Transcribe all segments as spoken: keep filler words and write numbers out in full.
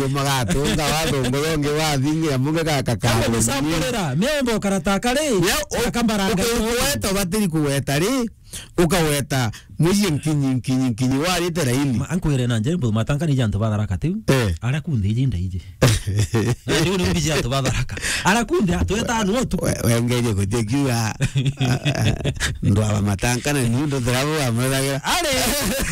yo magatunga wathungu yongi wathingi ya munge gaka ka. Kama gusamburira, miombo karataka ri, ya, u-, akambaranga ukigweta, ubatiri kugweta ri, ukaweta muiye nkinyi, nkinyi, nkinyi, warite raini. Ma-, ankwire na njeri, matanga ni jantu batharaka tiu. Eh. Ara kundi iji ndaiji. Na riu ni mbiji antu batharaka. Ara kundi, twetano utuku. We-, wengeje gutia kiuga, ndwaba matanga na niu ndothera bo amuragira. Ari,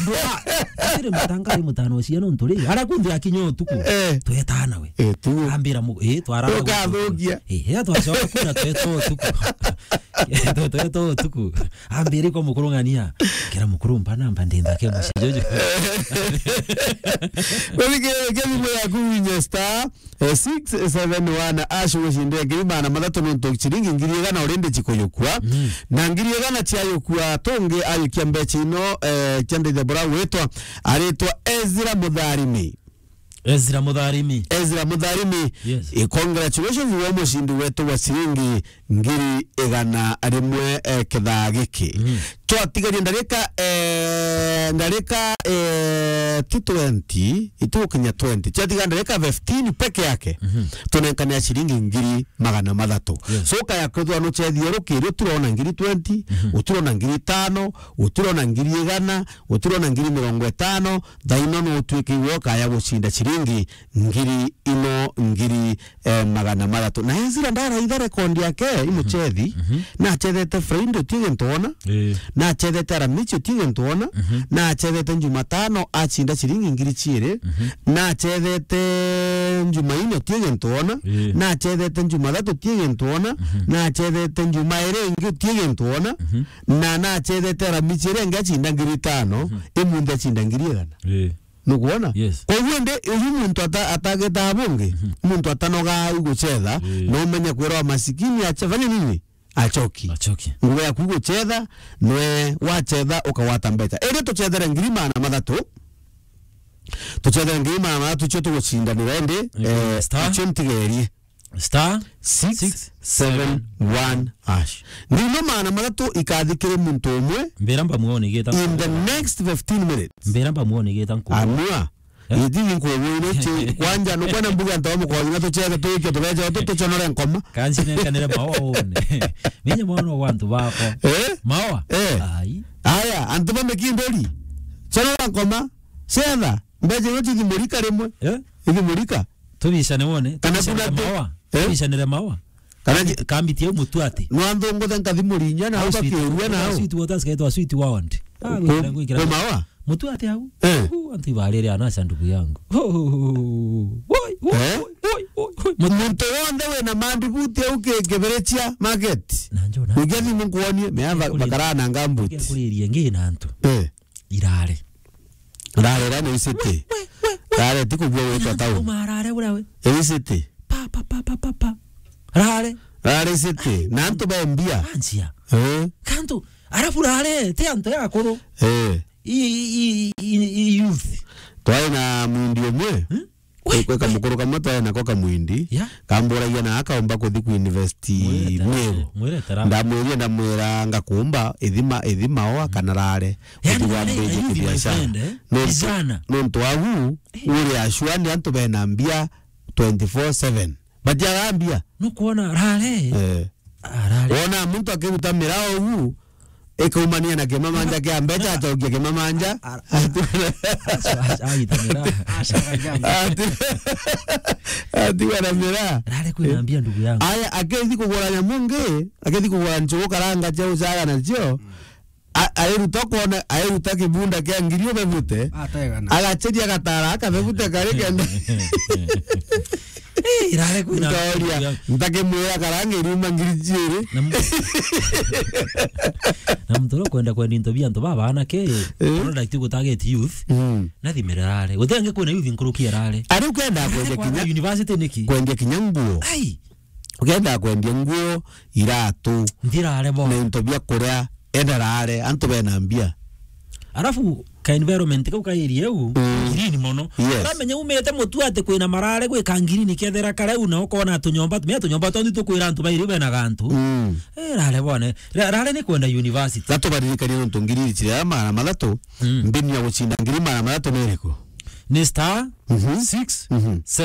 ndwa-, atiri matanga ari mutano cia nontu ri. Ara kundi akinya utuku. Eh. Twetana we. Eh, tu. Ambira mu-, eh, twarara. Ukathukia. Eh, ya twacoka kuna tweta utuku. Twe-, tweta utuku. Ambira kwa mukuru ng'ania. Kira mukuru mpa namba ndinda ke mucijojo. Wewe ke, ke thimu yaku winye star, eh, six seven one ash ucinde ngiri magana mathatu nontu ciringi ngiri igana urindi cikuyukua. Mm. Na ngiri igana ciayukua tungi ayukia mbeca ino, eh, cia ndithia bura witwa, aritwa Ezra Mutharimi. Ezra Mutharimi. Ezra Mutharimi. Yes. Eh, congratulations wa mucindi wetu wa ciringi ngiri igana rimwe, eh, kithaa giki. Mm. Twatigaria ndarika, eh, ndarika, eh, ti twenty, itukinya twenty. Twatiga ndarika fifteen peke yake. Mhm. Tunenkane ya ciringi ngiri magana mathatu. Yes. So, kaya kwithwa nuchethie rukiri, utirona ngiri twenty, mhm, utirona ngiri itano, utirona ngiri igana, utirona ngiri mirongo itano, thaino no utuike iwe ukaya gucinda ciringi ngiri ino ngiri, eh, magana mathatu. Na Ezra ndaraitha rekondi yake, imuchethi, mhm, nachethete Friday utie gintu wona, eh, nachethete Aramisi utie gintu wona, mhm, nachethete Jumatano acinda ciringi ngiri ciiri, mhm, nachethete Jumaine utie gintu wona, eh, nachethete Jumathatu utie gintu wona, mhm, nachethete Jumairi ingi utie gintu wona, mhm, na nachethete Aramisi iria ingi acinda ngiri itano, mhm, imunthi acinda ngiri igana. Eh. Nukwona? Yes. Koguo ndi, uyu muntu ata-, atageta bungi, mhm, muntu atanoga gucetha, eh, no umenye kwirwa masikini ache-, fanya nini? Achoki. Achoki. Ngugi yaku gucetha, nwe wacetha ukagwata mbeca. Indi tucethere ngiri magana mathatu. Tucethere ngiri magana mathatu cio tugucindanira indi, eh, eh, star, icio ntigerie. Star six seven one hash. Ngiri magana mathatu ikathi kiri muntu umwe. Mbira mbamuonigita. In the next fifteen minutes. Mbira mbamuonigita nku. Amua. Eh? Iti ni nkuonigita chi. Kwanja, nukwenda mbuge antu ba mukothi na tucheze tuike tubeje tu tuchonore nkoma. Kansi nenkanire mawa one. Ninye mwana wa antu bakwa. Eh? Mawa? Eh. Ai. Aya, antu ba mikindori. Chonora nkoma. Cetha. Mbeje yo chithimurika rimwe. Eh? Ithimurika. Tubicane wone, kana tubicane kuna mawa. Eh? Tubicanire mawa. Kana kambi-, kambi tia mutu ati. No antu ngothe nkathi Murinya na au bakiurua na au. Sweet waters kaitwa sweet wound. Ah, ku-, gwikira, gwikira. Ku mawa? Mutu ati au. Eh. Uu, antu ibarire anasha ndugu yangu. Ho, ho, ho, ho. Woi, woi, eh? Woi, woi, woi, woi. Mutu, muntu wonthe wina mandibuti au ki-, Kiberecia market. Na njo na. Ugia thimu nkuonie, me ava-, bakara na ngambuti. Kuririe ngi na antu. Eh. Irare. Rare ra ni city. We, we, we. Rare ti kubua gwitwa town. Uma rare ura we. Ni city. Pa, pa, pa, pa, pa, pa. Rare. Rare city. Na antu ba mbia. Anjia. Eh. Kantu, arafu rare, ti antu ya akuru. Eh. I, i, i, i, i youth. Twari na mundi umwe. Hmm? We, kwi kamukuru kamwe twari nako kamwindi, yeah, kamburagia na akaumba kuthi ku university Meru. Mwirete rare. Ndamwiria, ndamwira ngakumba ithima, ithima oa kana rare. Yani, uthi wambiririe kibiashara. Nontu, nontu agu, eh, uri ashua ni antu bena mbia twenty-four seven. Batiaga mbia. Nukwona rare? Eh. Ah, rare. Wona muntu akiruta mirao ugu, ikaumania na kimamanja kia mbeca, acokia kimamanja. Ara-, ara-, aca-, aca-, agitanira. Ati-, atigwa na mira. Rare kwina mbia, ndugu yangu. Aya, akithi kugura nyamu ngi, akithi kugura nchugu karanga cia ucaga nacio, a-, airuta kwona, airuta kibunda kia ngiri ubebute. Ategana. Agacheria gatara akabebute kari kenda. Eh, irare kwina. Nkaoria, ntakimwira karanga iriuma ngiri ciiri. Na m-, na muntu uria ukwenda kwendia into bia antu baba anake, eh, product gutageti youth, mm, nathimire rare. Guti angi kwina youth nkuruki ya rare. Ari ukenda kwendia kinya university niki? Kwendia kinya nguo. Ai. Ukenda kwendia nguo, iratu, nthirare bo, na into bia kuria, enda rare, antu bena mbia. Arafu ka environment kau ka area eu, mm, green mono. Yes. Uramenya umite mutu ati kwina marare gwika green kethera kareu na ukona tunyomba, me tunyomba tontu tukwira antu bairi bena gantu. Mm. Eh, rare bone. Ra-, rare ni kwenda university. Gatubaririkanie nontu ngiri iri ciria magana mathatu, mm, mbinu ya gucinda ngiri magana mathatu ni iriku? ni star Mhm. six Mhm.